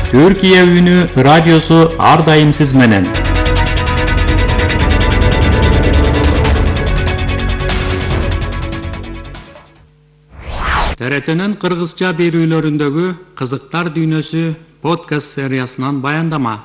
Түркия үнү радиосу ар дайым сиз менен. ТРТнын кыргызча берүүлөрүндөгү кызыктар дүйнөсү подкаст сериясынан баяндама.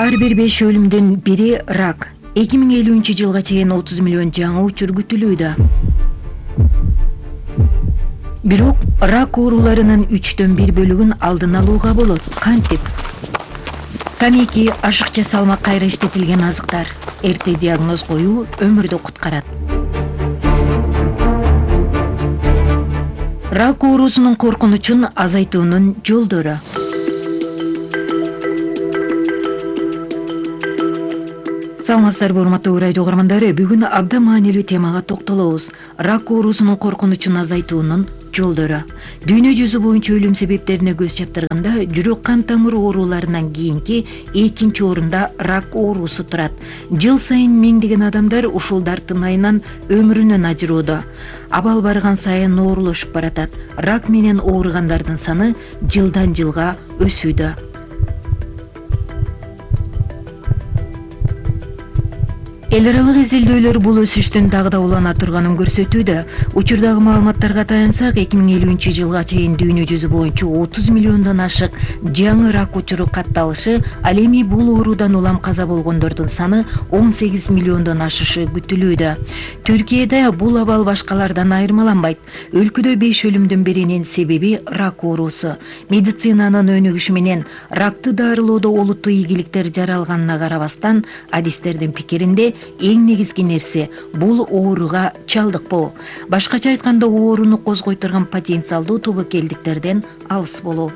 Ар бир 5 өлүмдүн бири рак. 2050 жылга чейин 30 миллион жаңы учур күтүлүүдө. Бирок рак ооруларынын 3/1 бөлүгүн алдын алууга болот. Кантип? Тамеки, ашыкча салмак кайра иштетилген азыктар. Эрте диагноз коюу өмүрдү куткарат. Рак оорусунун коркунучун азайтуунун жолдору. Саламатсыздарбы, урматтуу радио угармандары. Бүгүн абдан маанилүү темага токтолобуз. Рак оорусунун коркунучун азайтуунун жолдору. Дүйнө жүзү боюнча өлүм себептерине көз чаптырганда, жүрөк кан тамыр ооруларынан кийинки экинчи орунда рак оорусу турат. Жыл сайын миңдеген адамдар ушул дарттын айынан өмүрүнөн ажырууда. Абал барган сайын оорлошуп баратат. Рак менен ооругандардын саны жылдан жылга өсүүдө. Эл аралык изилдөөлөр бул өсүштүн дагы да улана турганын көрсөтүүдө. Учурдагы маалыматтарга таянсак, 2050 жылга чейин дүйнө жүзү боюнча 30 миллиондон ашык жаңы рак учуру катталышы, ал эми бул оорудан улам каза болгондордун саны 18 миллиондон ашышы күтүлүүдө. Түркияда бул абал башкалардан айырмаланбайт. Өлкөдө 5 өлүмдүн биринин себеби рак оорусу. Медицинанын өнүгүшү менен ракты дарылоодо олуттуу ийгиликтер жаралганына карабастан, адистердин пикиринде эң негизги нерсе бул ооруга чалдыкпоо. Башкача айтканда, ооруну козгой турган потенциалдуу тобокелдиктерден алыс болуу.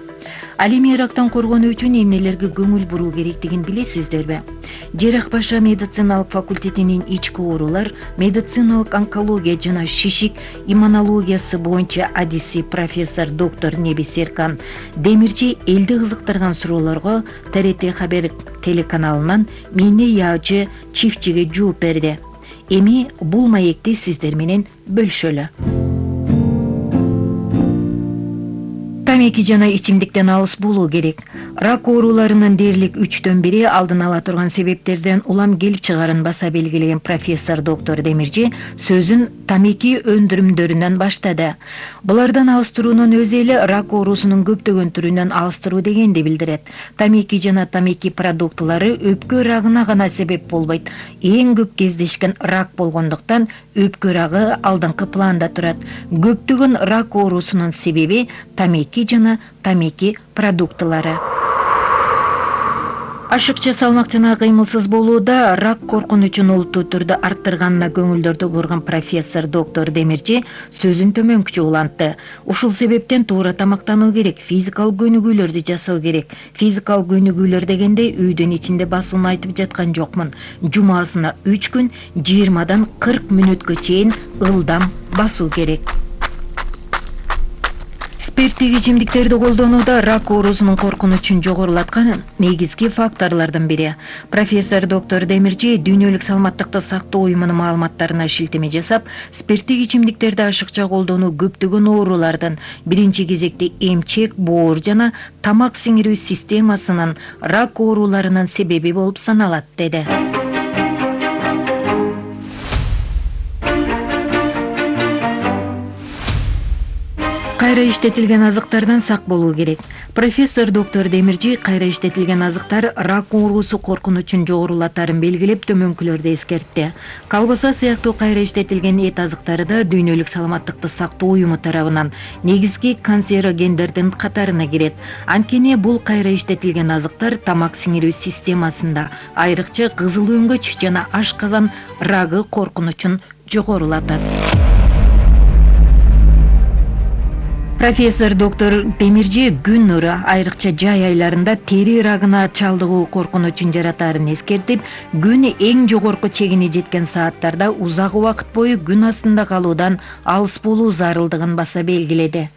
Ал эми рактан коргонуу үчүн эмнелерге көңүл буруу керектигин билесиздерби? Жерах Паша медициналык факультетинин ички оорулар, медициналык онкология жана шишик иммунологиясы боюнча адиси профессор доктор Неби Серкан Демирчи элди кызыктырган суроолорго ТРТ Хабер телеканалынан Мине Яачы чифтчиге жооп берди. Эми бул маекти сиздер менен бөлүшөлү. Тамеки жана ичимдиктен алыс болуу керек. Рак ооруларынын дээрлик 3/1 алдын ала турган себептерден улам келип чыгарын баса белгилеген профессор доктор Демирчи сөзүн тамеки өндүрүмдөрүнөн баштады. Булардан алыс туруунун өзү эле рак оорусунун көптөгөн түрүнөн алыс туруу дегенди билдирет. Тамеки жана тамеки продуктылары өпкө рагына гана себеп болбойт. Эң көп кездешкен рак болгондуктан өпкө рагы алдыңкы планда турат. Көптөгөн рак оорусунун себеби тамеки жана тамеки продуктылары. Ашыкча салмак жана кыймылсыз болууда рак коркунучун олуттуу түрдө арттырганына көңүлдөрдү бурган профессор доктор Демирчи сөзүн төмөнкүчө улантты. Ушул себептен туура тамактануу керек, физикалык көнүгүүлөрдү жасоо керек. Физикалык көнүгүүлөр дегенде үйдүн ичинде басууну айтып жаткан жокмун. Жумасына 3 күн 20-дан 40 мүнөткө чейин ылдам басуу керек. Спирттик ичимдиктерди колдонууда рак оорусунун коркунучун жогорулаткан негизги факторлордун бири. Профессор доктор Демирчи дүйнөлүк саламаттыкты сактоо уюмунун маалыматтарына шилтеме жасап, спирттик ичимдиктерди ашыкча колдонуу көптөгөн оорулардын, биринчи кезекте эмчек, боор жана тамак сиңирүү системасынын рак ооруларынын себеби болуп саналат, деди. Кайра иштетилген азыктардан сак болуу керек. Профессор доктор Демирчи кайра иштетилген азыктар рак оорусу коркунучун жогорулатарын белгилеп, төмөнкүлөрдү эскертти. Колбаса сыяктуу кайра иштетилген эт азыктары да дүйнөлүк саламаттыкты сактоо уюму тарабынан негизги канцерогендердин катарына кирет. Анткени бул кайра иштетилген азыктар тамак сиңирүү системасында, айрыкча кызыл өңгөч жана ашказан рагы коркунучун жогорулатат. Профессор доктор Демирчи күн нуру, айрыкча жай айларында тери рагына чалдыгуу коркунучун жаратаарын эскертип, күн эң жогорку чегине жеткен сааттарда узак убакыт бою күн астында калуудан алыс болуу зарылдыгын баса белгиледи.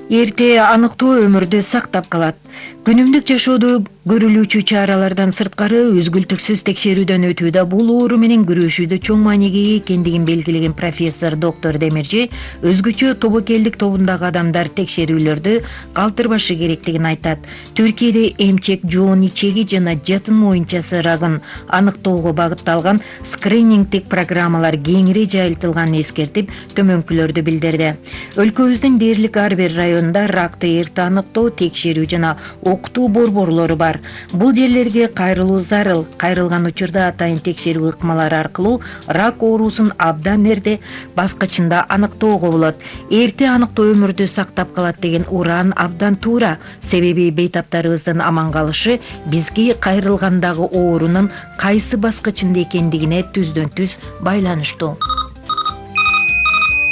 Эрте аныктоо өмүрдү сактап калат. Күнүмдүк жашоодо көрүлүүчү чаралардан сырткары үзгүлтүксүз текшерүүдөн өтүүдө бул оору менен күрөшүүдө чоң мааниге ээ экендигин белгилеген профессор доктор Демирчи өзгөчө тобокелдик тобундагы адамдар текшерүүлөрдү калтырбашы керектигин айтат. Түркияда эмчек, жоон ичеги жана жатын моюнчасы рагын аныктоого багытталган скринингдик программалар кеңири жайылтылганын эскертип, төмөнкүлөрдү билдирди. Өлкөбүздүн дээрлик ар бир районунда ракты эрте аныктоо, текшерүү жана окутуу борборлору бар. Бул жерлерге кайрылуу зарыл. Кайрылган учурда атайын текшерүү ыкмалары аркылуу рак оорусун абдан эрте баскычында аныктоого болот. Эрте аныктоо өмүрдү сактап калат деген уран абдан туура. Себеби бейтаптарыбыздын аман калышы бизге кайрылгандагы оорунун кайсы баскычында экендигине түздөн түз байланыштуу.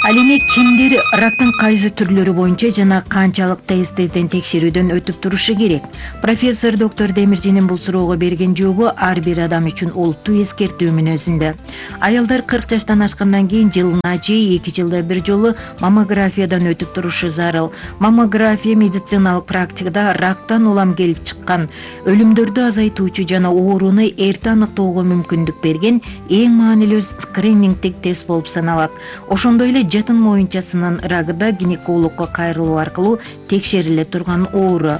Ал эми кимдер рактын кайсы түрлөрү боюнча жана канчалык тезден текшерүүдөн өтүп турушу керек? Профессор доктор Демирчинин бул суроого берген жообу ар бир адам үчүн олуттуу эскертүү мүнөзүндө. Аялдар 40 жаштан ашкандан кийин жылына же 2 жылда бир жолу маммографиядан өтүп турушу зарыл. Маммография медициналык практикада рактан улам келип чыккан өлүмдөрдү азайтуучу жана ооруну эрте аныктоого мүмкүндүк берген эң маанилүү скринингдик тест болуп саналат. Ошондой эле жатын моюнчасынын рагы да гинекологко кайрылуу аркылуу текшериле турган оору.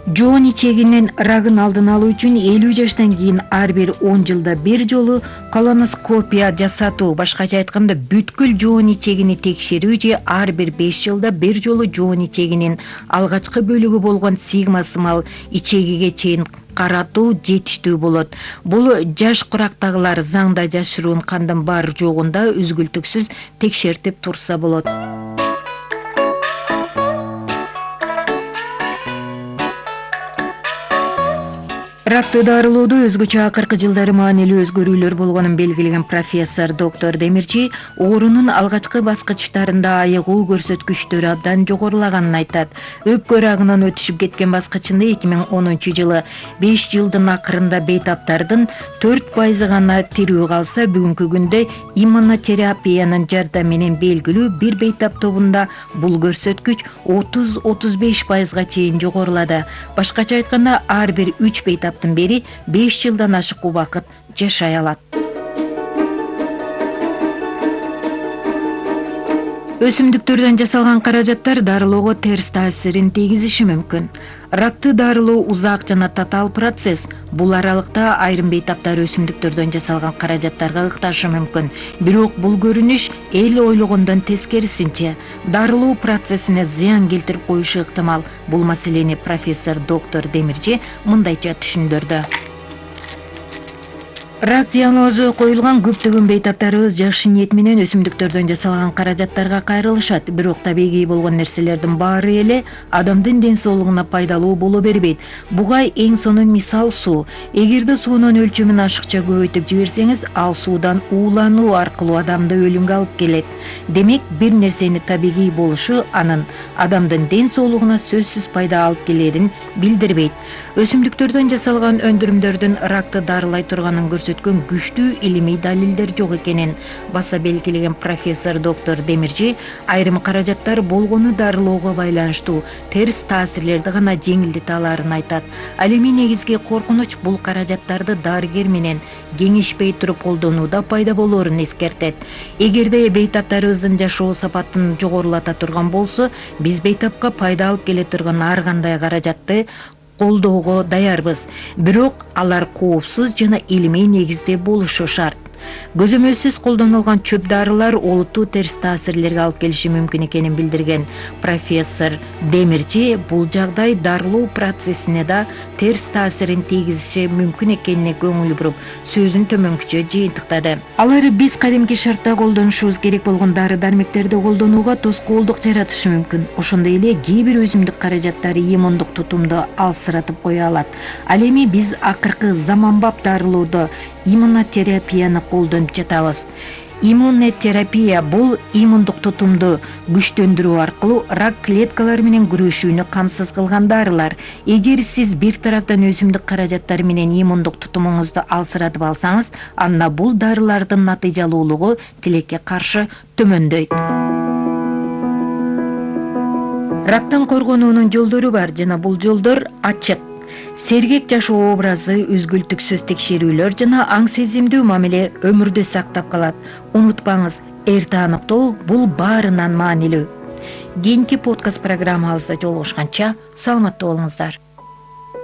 Жоон ичегинин рагын алдын алуу үчүн 50 жаштан кийин ар бир 10 жылда бир жолу колоноскопия жасатуу, башкача айтканда бүткүл жоон ичегини текшерүү же ар бир 5 жылда бир жолу жоон ичегинин алгачкы бөлүгү болгон сигмасымал ичегиге чейин каратуу жетиштүү болот. Бул жаш курактагылар заңда жашыруун кандын бар жогунда үзгүлтүксүз текшертип турса болот. Ракты дарылоодо өзгөчө акыркы жылдары маанилүү өзгөрүүлөр болгонун белгилеген профессор доктор Демирчи оорунун алгачкы баскычтарында айыгуу көрсөткүчтөрү абдан жогорулаганын айтат. Өпкө рагынан өтүшүп кеткен баскычында 2010 жылы 5 жылдын акырында бейтаптардын 4% гана тирүү калса, бүгүнкү күндө иммунотерапиянын жардамы менен белгилүү бир бейтап тобунда бул көрсөткүч 30-35%га чейин жогорулады. Башкача айтканда ар бир 3 бейтап бери 5 жылдан ашык убакыт жашай алат. Өсүмдүктөрдөн жасалган каражаттар дарылоого терс таасирин тийгизиши мүмкүн. Ракты дарылоо узак жана татаал процесс. Бул аралыкта айрым бейтаптар өсүмдүктөрдөн жасалган каражаттарга ыкташы мүмкүн. Бирок бул көрүнүш эл ойлогондон тескерисинче дарылоо процессине зыян келтирип коюшу ыктымал. Бул маселени профессор доктор Демирчи мындайча түшүндүрдү. Рак диагнозу коюлган көптөгөн бейтаптарыбыз жакшы ниет менен өсүмдүктөрдөн жасалган каражаттарга кайрылышат. Бирок табигый болгон нерселердин баары эле адамдын ден соолугуна пайдалуу боло бербейт. Буга эң сонун мисал суу. Эгерде суунун өлчөмүн ашыкча көбөйтүп жиберсеңиз, ал суудан уулануу аркылуу адамды өлүмгө алып келет. Демек, бир нерсени табигый болушу анын адамдын ден соолугуна сөзсүз пайда алып келерин билдирбейт. Өсүмдүктөрдөн жасалган өндүрүмдөрдүн ракты дарылай турганын көрсөткөн күчтүү илимий далилдер жок экенин баса белгилеген профессор доктор Демирчи айрым каражаттар болгону дарылоого байланыштуу терс таасирлерди гана жеңилдете аларын айтат. Ал эми негизги коркунуч бул каражаттарды дарыгер менен кеңешпей туруп колдонууда пайда болоорун эскертет. Эгерде бейтаптарыбыздын жашоо сапатын жогорулата турган болсо, биз бейтапка пайда алып келе турган ар кандай каражатты колдоого даярбыз. Бирок алар коопсуз жана илимий негизде болушу шарт. Көзөмөлсүз колдонулган чөп дарылар олуттуу терс таасирлерге алып келиши мүмкүн экенин билдирген профессор Демирчи бул жагдай дарылоо процессине да терс таасирин тийгизиши мүмкүн экенине көңүл буруп, сөзүн төмөнкүчө жыйынтыктады. Алар биз кадимки шартта колдонушубуз керек болгон дары-дармектерди колдонууга тоскоолдук жаратышы мүмкүн. Ошондой эле кээ бир өсүмдүк каражаттары иммундук тутумду алсыратып кое алат. Ал эми биз акыркы заманбап дарылоодо иммунотерапияны колдонуп жатабыз. Иммунотерапия бул иммундук тутумду күчтөндүрүү аркылуу рак клеткалары менен күрөшүүнү камсыз кылган дарылар. Эгер сиз бир тараптан өсүмдүк каражаттары менен иммундук тутумуңузду алсыратып алсаңыз, анда бул дарылардын натыйжалуулугу тилекке каршы төмөндөйт. Рактан коргонуунун жолдору бар жана бул жолдор ачык. Сергек жашоо образы, үзгүлтүксүз текшерүүлөр жана аң сезимдүү мамиле өмүрдө сактап калат. Унутпаңыз, эрте аныктоо бул баарынан маанилүү. Кийинки подкаст программабызда жолугушканча саламатта болуңуздар.